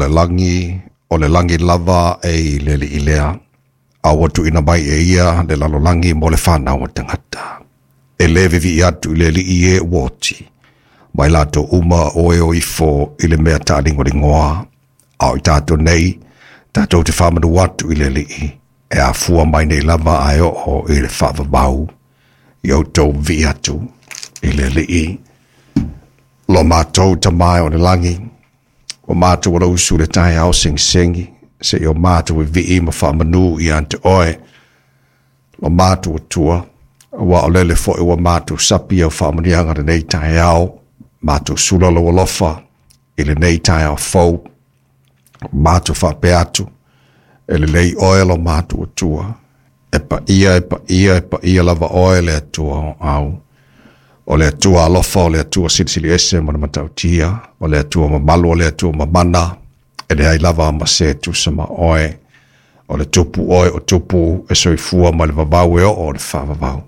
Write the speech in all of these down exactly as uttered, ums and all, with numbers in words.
le lagi, o le lagi lava e i le alii lea, a ua tuuina mai e ia le lalolagi mo le fanau a tagata. E lē vivii atu i le alii e ua oti, ma i latou uma o e o ifo i le mea taaligoligoa, a o i tatou nei, tatou te faamanu atu i le alii, e afua mai nei lava ae oo i le faavavau, ia outou vivii atu i le alii. Lo matou Tama e o le lagi, ua matou alausu i le taeao segisegi, seia o matou vivii ma faamanu ia te oe, lo matou Atua, aua o lele foi ua matou sapi i au faamanuiaga lenei taeao, matou sula lou alofa i lenei taeao fou, matou faapea atu, e lelei oe lo matou Atua, e paia, e paia, e paia lava oe le Atua o au. O le Atua alofa, o le Atua silisili ese ma le matautia, o le Atua mamalu, o le Atua mamana, e leai lava ma se tusa ma oe. O le tupu oe o tupu e soifua ma le vavau e oo o le faavavau.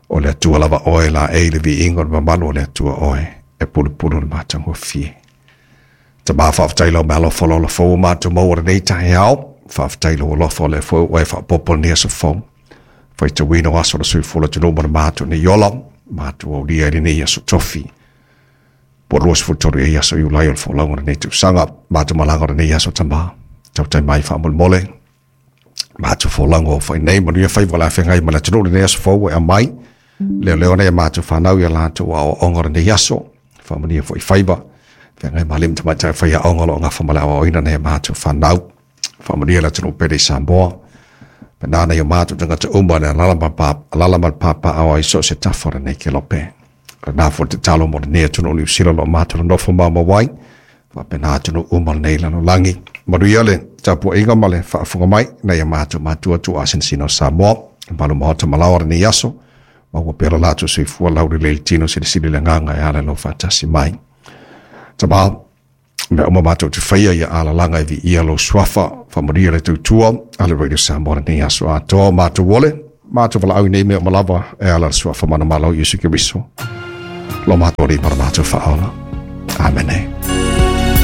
O le Atua lava oe laei le viiga o le mamalu o le Atua oe, e pulupulu le matagofie. Tama faafetai lau meaalofa o le fou ua matou maua lenei taeao. Faafetai lou alofa o lea foi ua e faaopoopo lenei aso fou. Faitauina o aso o le soifua o le atunuu ma le matou nei ola, matou aulia i lenei aso tofi. Po o luasefulu tolu ea aso Iulai o le folauga o lenei tausaga. Matou malaga o lenei aso Tama. Tautai mai faamolemole. Matou folauga o fai nei, manuia faiva o le a feagai ma le atunuu lenei aso fou ua e aumai. Leoleo nei a matou fanau ia latou aoaoga o lenei aso. Faamanuia foi faiva. Feagai ma alii ma tamaitai faiaoga o lo o gafa ma le aoaoina nei a matou fanau. Faamanuia le atunuu pele i Samoa. Pena nei o matou tagata uma le alala ma pa, alala ma le papaao ai so o se tafa o lenei kelope. Lena foi le tatalo mo lenei atunuu Niu Sila o lo o matou nonofo maumau ai. Faapena atunuu uma lenei lalolagi. Manuia le tapuaiga ma le faafofoga mai nai a matou matua tuuasinasina o Samoa. Malu maota malaoa lenei aso. Maua pea lo latou soifua laulelei le tino silisili le agaga e ala i lou faatasi mai. Tama, mea uma matou te faia ia alalaga e viia lou suafa, faamanuia le tautua a le Radio Samoa lenei aso atoa, matou ole, matou valaau i nei mea uma lava e ala i le suafa manumalo o Iesu Keriso. Lo matou Alii ma lo matou Faaola. Amene.